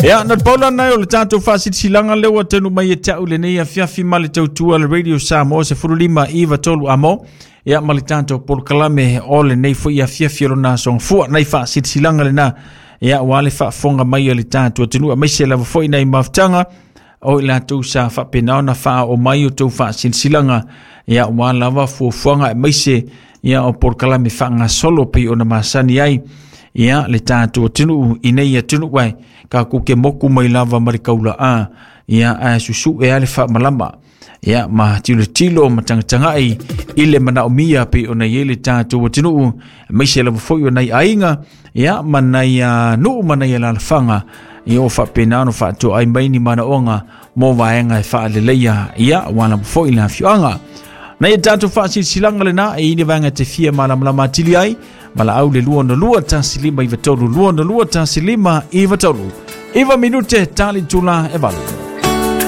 Ia, na pau lana o le tatou faasilasilaga lea ua taunuu mai ia te au lenei afiafi ma le tautua le Radio Samoa 15 9 3 amo. Ia ma le tatou polokalame o lenei foi afiafi o lona aso gafua. Nai faasilasilaga lena. Ia, ua le faafofoga mai a le tatou atunuu aemaise lava foi nai mafutaga o i latou sa faapena ona faaoo mai o tou faasilasilaga ia ua lava fuafuaga aemaise ia o polokalame faagasolo pei ona masani ai ia le tatou atunuu i nei atunuu ai tatou te moku mai lava ma le kaula'a ia ae susu'e a le faamalama ia ma tilotilo ma tagatagai i le manaomia pei ona i ai le tatou atunuu aemaise lava foi o nai aiga ia ma nai nuu ma nai alaalafaga ia o faapena ona faatoai mai ni manaoga mo vaega e faaleleia ia ua lava foi le afioaga. Nei e tatou faasilasilaga lena e i ni vaega te fia malamalama atili ai valaau le 262 15 93 262 15 93. 9 minute tali tula e 8.